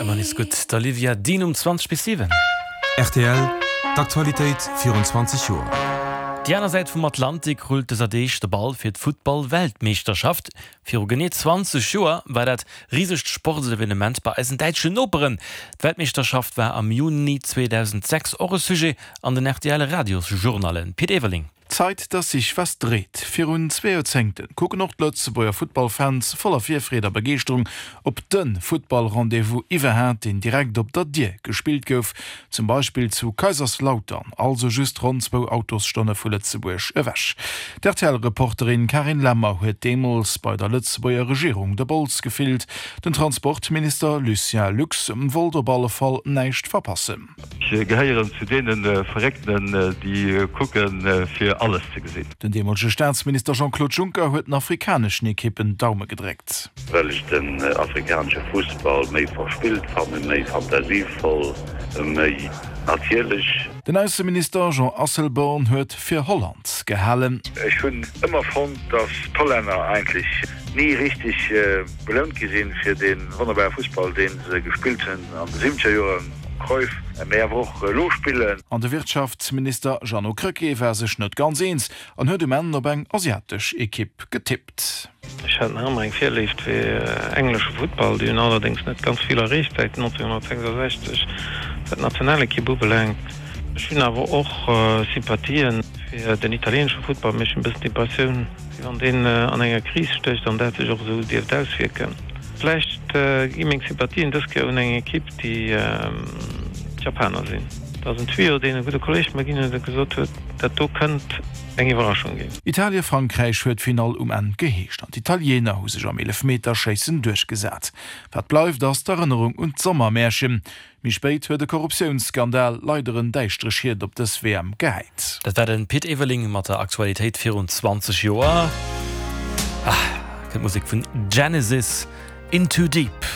Ëmmer nees gutt, d'Olivia Dean um 20 bis 7. Rtl, D'Aktualitéit virun 20 Joer. Déi aner Säit vum Atlantik rullt dëser Deeg de Ball fir d'Futtball-Weltmeeschterschaft. Viru genee 20 Joer war dat risegt Sportsevenement bei eisen däitschen Noperen. D'Weltmeeschterschaft war am Juni 2006 och e Sujet an den RTL-Radiosjournallen. Pit Everling. Zait, dass sich was dreht. Virun zwee Joerzéngten kucken och d'Lëtzebuerger Futtballfans voller Virfreed a Begeeschterung op de Futtball-Rendez-vous iwwerhaat, deen direkt op der Dier gespillt gouf, zum Beispill zu Kaiserslautern, also just ronn zwou Autosstonne vu Lëtzebuerg ewech. D'RTL-Reporterin Carine Lemmer huet deemools bei der Lëtzebuerger Regierung de Bols gefillt. Den Transportminister Lucien Lux wollt op alle Fall näischt verpassen. Ech gehéieren zu deene Verréckten, déi kucken, fir alles ze gesinn. Den deemolege Staatsminister Jean-Claude Juncker huet den afrikaneschen Ekippen d'Daume gedréckt. Well ech den afrikanesche Fussball méi verspillt fannen, méi fantasievoll, méi natierlech. Den Ausseminister Jean Asselborn huet fir Holland gehalen. Ech hunn ëmmer fonnt, dass d'Hollänner eigentlech ni richteg belount gi sinn fir dee wonnerbare Fussball, dee se gespillt hunn an de siwwenzeger Joren, Cruyff, mee awer och elo spillen. An de Wirtschaftsminister Jeannot Krecké war sech net ganz eens an huet um Enn op eng asiatesch Ekipp getippt. Ech hat nach ëmmer eng Virléift fir englesche Futtball. Déi hunn allerdéngs net ganz vill erreecht säit 1966, wat d'Nationalekipp ubelaangt. Ech hunn awer och Sympathien fir den italieenesche Futtball, mee ech hunn e bëssen d'Impressioun, wéi wann deen an enger Kris stécht an dat sech och esou dierft auswierken. Vläicht gi meng Sympathien dës Kéier un eng Ekipp, déi d'Japaner sinn. Dat ass en Tuyau, deen e gudde Kolleeg mer ginn huet a gesot huet, dat do kënnt eng Iwwerraschung ginn. Italie-Frankräich huet d'Finall um Enn geheescht an d'Italiener hu sech am Eelefmeterschéissen duerchgesat. Wat bleift ass d'Erënnerung un d'Sommermärchen. Méi spéit huet e Korruptiounsskandal leider en däischtere Schiet op dës WM gehäit. Dat war de Pit Everling mat der Aktualitéit virun 20 Joer. Ah, kënnt d'Musek vun Genesis, In Too Deep.